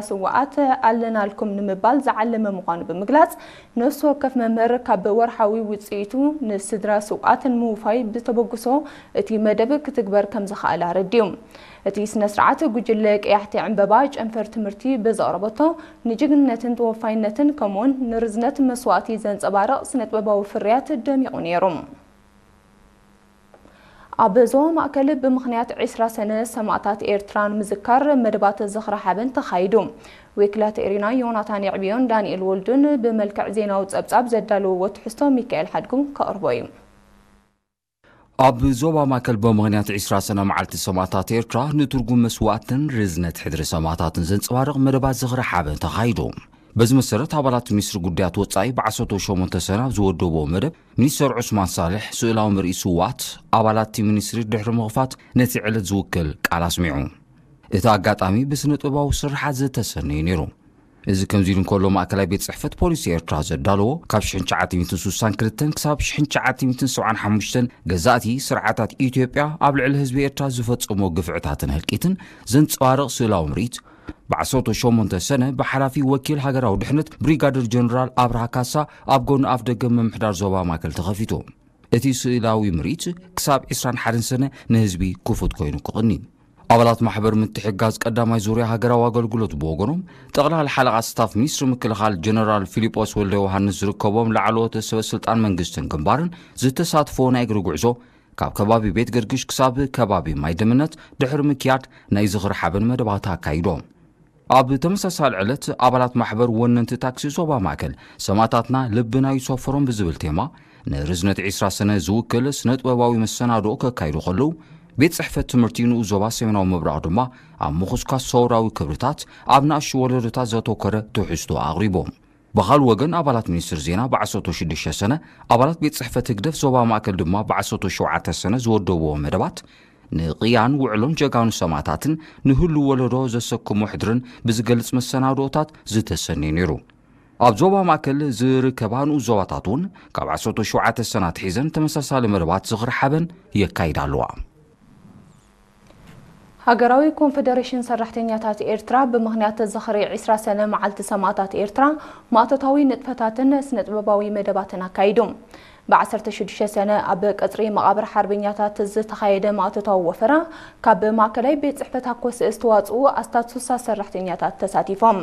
ስውኣት ኣለናልኩም ንምባል ዝዓለመ ምዃኑ ብምግላጽ፣ ነፍሲ ወከፍ መምህር ካብ ወርሓዊ ውጽኢቱ ንስድራ ስውኣት ንምውፋይ ብተበግሶ እቲ መደብ ክትግበር ከም ዝኸኣለ ኣረዲኡ። እቲ ስነ ስርዓት ጉጅለ ቀያሕቲ ዕምበባ ጨንፈር ትምህርቲ ብዘቕረበቶ ንጅግንነትን ተወፋይነትን ከምኡውን ንርዝነት መስዋእቲ ዘንጸባርቕ ስነጥበባዊ ፍርያት ደሚቑ ነይሩ። ኣብ ዞባ ማእከል ብምኽንያት ዕስራ ሰነ ሰማእታት ኤርትራ ንምዝካር መደባት ዝኽሪ ሓበን ተኻይዱ። ወኪላት ኤሪና ዮናታን የዕብዮን ዳንኤል ወልዱን ብመልክዕ ዜናዊ ጸብጻብ ዘዳለውዎ ትሕዝቶ ሚካኤል ሓድጉ ከቕርቦ እዩ። ኣብ ዞባ ማእከል ብምኽንያት ዕስራ ሰነ መዓልቲ ሰማእታት ኤርትራ ንትርጉም መስዋእትን ርዝነት ሕድሪ ሰማእታትን ዘንጸባርቕ መደባት ዝኽሪ ሓበን ተኻይዱ። በዚ መሰረት ኣባላት ሚኒስትሪ ጉዳያት ወጻኢ ብዓሰርተ ሸሞንተ ሰነ ኣብ ዝወደብዎ መደብ ሚኒስተር ዑስማን ሳልሕ ስእላዊ ምርኢት ስውኣት ኣባላት እቲ ሚኒስትሪ ድሕሪ ምኽፋት ነቲ ዕለት ዝውክል ቃል ኣስሚዑ። እቲ ኣጋጣሚ ብስነ ጥበባዊ ስርሓት ዝተሰነየ ነይሩ። እዚ ከምዚ ኢሉ እንከሎ ማእከላይ ቤት ጽሕፈት ፖሊሲ ኤርትራ ዘዳለዎ ካብ ሽሕን ትሽዓተ ሚእትን ስሳን ክልተን ክሳብ ሽሕን ትሽዓተ ሚእትን ሰብዓን ሓሙሽተን ገዛእቲ ስርዓታት ኢትዮጵያ ኣብ ልዕሊ ህዝቢ ኤርትራ ዝፈጸሞ ግፍዕታትን ህልቂትን ዘንጸባርቕ ስእላዊ ምርኢት ብዓሰርተ ሸሞንተ ሰነ ብሓላፊ ወኪል ሃገራዊ ድሕነት ብሪጋደር ጀነራል ኣብርሃ ካሳ ኣብ ጎኒ ኣፍ ደገ ምምሕዳር ዞባ ማእከል ተኸፊቱ። እቲ ስእላዊ ምርኢት ክሳብ ዕስራን ሓደን ሰነ ንህዝቢ ክፉት ኮይኑ ክቕኒ። ኣባላት ማሕበር ምትሕግጋዝ ቀዳማይ ዙርያ ሃገራዊ ኣገልግሎት ብወገኖም፣ ጠቕላሊ ሓለቓ ስታፍ ሚኒስትሪ ምክልኻል ጀነራል ፊሊጶስ ወልደ ዮሃንስ ዝርከቦም ላዕለዎት ሰበ ስልጣን መንግስትን ግንባርን ዝተሳትፎ ናይ እግሪ ጉዕዞ ካብ ከባቢ ቤት ገርግሽ ክሳብ ከባቢ ማይ ደምነት ድሕሪ ምክያድ ናይ ዝኽሪ ሓበን መደባት ኣካይዶም። ኣብ ተመሳሳሊ ዕለት ኣባላት ማሕበር ወነንቲ ታክሲ ዞባ ማእከል ሰማእታትና ልብና ይሰፈሮም ብዝብል ቴማ ንርዝነት ዕስራ ሰነ ዝውክል ስነ ጥበባዊ መሰናድኦ ከካይዱ ከለዉ፣ ቤት ጽሕፈት ትምህርቲ ንኡስ ዞባ ሰሜናዊ ምብራቕ ድማ ኣብ ምኹስኳስ ሰውራዊ ክብርታት ኣብ ንኣሽቱ ወለዶታት ዘተኮረ ትሕዝቶ ኣቕሪቦም። ብኻልእ ወገን ኣባላት ሚኒስትሪ ዜና ብዓሰርተ ሽዱሽተ ሰነ፣ ኣባላት ቤት ጽሕፈት ህግደፍ ዞባ ማእከል ድማ ብዓሰርተ ሸውዓተ ሰነ ዝወደብዎ መደባት ንቕያን ውዕሎን ጀጋኑ ሰማእታትን ንህሉ ወለዶ ዘሰክሞ ሕድርን ብዝገልጽ መሰናድኦታት ዝተሰነየ ነይሩ። ኣብ ዞባ ማእከል ዝርከባ ንኡስ ዞባታት እውን ካብ ዓሰርተ ሸውዓተ ሰነ ኣትሒዘን ተመሳሳሊ መደባት ዝኽሪ ሓበን የካይዳ ኣለዋ። ሃገራዊ ኮንፈደሬሽን ሰራሕተኛታት ኤርትራ ብምኽንያት ዝኽሪ ዕስራ ሰነ መዓልቲ ሰማእታት ኤርትራ ማእቶታዊ ንጥፈታትን ስነ ጥበባዊ መደባትን ኣካይዱ። ብዓሰርተ ሽዱሽተ ሰነ ኣብ ቀጽሪ መቓብር ሓርበኛታት ዝተኻየደ ማእቶታዊ ወፈራ ካብ ማእከላይ ቤት ጽሕፈት ሃኮስእ ዝተዋጽኡ ኣስታት ስሳ ሰራሕተኛታት ተሳቲፎም።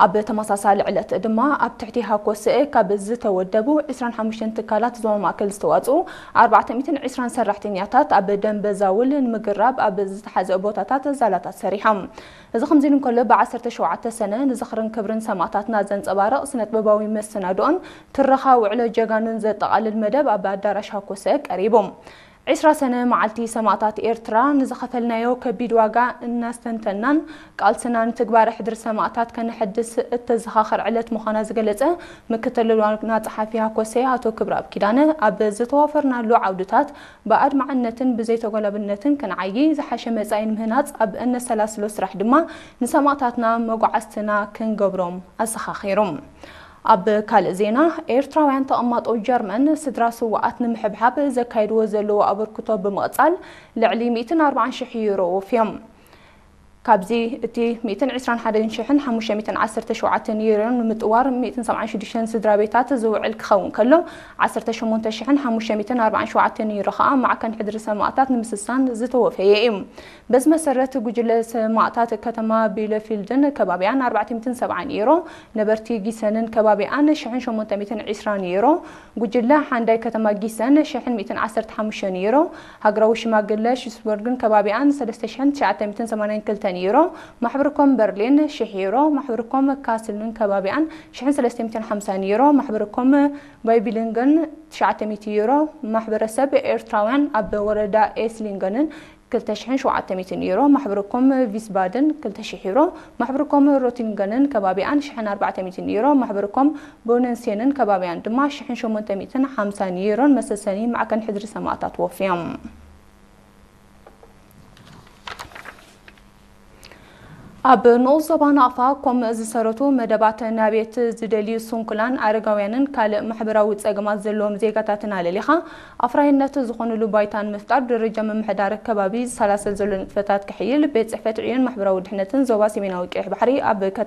ኣብ ተመሳሳሊ ዕለት ድማ ኣብ ትሕቲ ሃኮስእ ካብ ዝተወደቡ ዕስራን ሓሙሽተን ትካላት ዞባ ማእከል ዝተዋጽኡ ኣርባዕተ ሚእትን ዕስራን ሰራሕተኛታት ኣብ ደንበ ዛውል ንምግራብ ኣብ ዝተሓዘ ቦታታት ዛላታት ሰሪሖም። እዚ ከምዚ ኢሉ እንከሎ፣ ብዓሰርተ ሸውዓተ ሰነ ንዝኽርን ክብርን ሰማእታትና ዘንጸባርቕ ስነጥበባዊ መሰናድኦን ትረኻ ውዕሎ ጀጋኑን ዘጠቓልል መደብ ኣብ ኣዳራሽ ሃኮሰ ቀሪቡ። ዕስራ ሰነ መዓልቲ ሰማእታት ኤርትራ ንዝኸፈልናዮ ከቢድ ዋጋ እናስተንተናን ቃልስና ንትግባረ ሕድሪ ሰማእታት ከነሐድስ እተዘኻኽር ዕለት ምዃና ዝገለጸ ምክትል ዋና ጸሓፊ ሃኮሰ ኣቶ ክብረኣብ ኪዳነ፣ ኣብ ዝተዋፈርናሉ ዓውድታት ብኣድማዕነትን ብዘይተጎላብነትን ክንዓዪ፣ ዝሓሸ መጻኢ ንምህናጽ ኣብ እነሰላስሎ ስራሕ ድማ ንሰማእታትና መጓዓዝትና ክንገብሮም ኣዘኻኺሩ። ኣብ ካልእ ዜና፣ ኤርትራውያን ተቐማጦ ጀርመን ስድራ ስውኣት ንምሕብሓብ ዘካይድዎ ዘለዉ ኣበርክቶ ብምቕጻል ልዕሊ ሚእትን ኣርባዓን ሽሕ ዩሮ ወፍዮም። ካብዚ እቲ ሚእትን ዕስራን ሓደን ሽሕን ሓሙሽተ ሚእትን ዓሰርተ ሸውዓተን ዩሮ ንምጥዋር ሚእትን ሰብዓን ሽዱሽተን ስድራ ቤታት ዝውዕል ክኸውን ከሎ፣ ዓሰርተ ሸሞንተ ሽሕን ሓሙሽተ ሚእትን ኣርባዓን ሸውዓተን ዩሮ ከኣ ማዕከን ሕድሪ ሰማእታት ንምስሳን ዝተወፈየ እዩ። በዚ መሰረት፣ ጉጅለ ሰማእታት ከተማ ቢለፊልድን ከባቢኣን ኣርባዕተ ሚእትን ሰብዓን ዩሮ፣ ነበርቲ ጊሰንን ከባቢኣን ሽሕን ሸሞንተ ሚእትን ዕስራን ዩሮ፣ ጉጅለ ሓንዳይ ከተማ ጊሰን ሽሕን ሚእትን ዓሰርተ ሓሙሽተን ዩሮ፣ ሃገራዊ ሽማግለ ሽስበርግን ከባቢኣን ሰለስተ ሽሕን ትሽዓተ ሚእትን ሰማንያን ክልተን ዩሮ፣ ማሕበርኮም በርሊን ሽሕ ዩሮ፣ ማሕበርኮም ካስልን ከባቢኣን ሽሕን ሰለስተ ሚእትን ሓምሳን ዩሮ፣ ማሕበርኮም ባይቢሊንገን ትሽዓተ ሚእቲ ዩሮ፣ ማሕበረሰብ ኤርትራውያን ኣብ ወረዳ ኤስሊንገንን ክልተ ሽሕን ሸውዓተ ሚእትን ዩሮ፣ ማሕበርኮም ቪስባደን ክልተ ሽሕ ዩሮ፣ ማሕበርኮም ሮቲንገንን ከባቢኣን ሽሕን ኣርባዕተ ሚእትን ዩሮ፣ ማሕበርኮም ቦነንሴንን ከባቢኣን ድማ ሽሕን ሸሞንተ ሚእትን ሓምሳን ዩሮን መሰሰኒ ማዕከን ሕድሪ ሰማእታት ወፍዮም። ኣብ ንኡስ ዞባ ናቕፋ ኮም ዝሰረቱ መደባት ናቤት ዝደልዩ ስንኩላን ኣረጋውያንን ካልእ ማሕበራዊ ጸገማት ዘለዎም ዜጋታትን ኣለሊኻ ኣፍራይነት ዝኾኑሉ ባይታን ምፍጣር ደረጃ ምምሕዳር ከባቢ ዝሰላሰል ዘሎ ንጥፈታት ክሕይል ቤት ጽሕፈት ዕዮን ማሕበራዊ ድሕነትን ዞባ ሰሜናዊ ቀይሕ ባሕሪ ኣብ ከተማ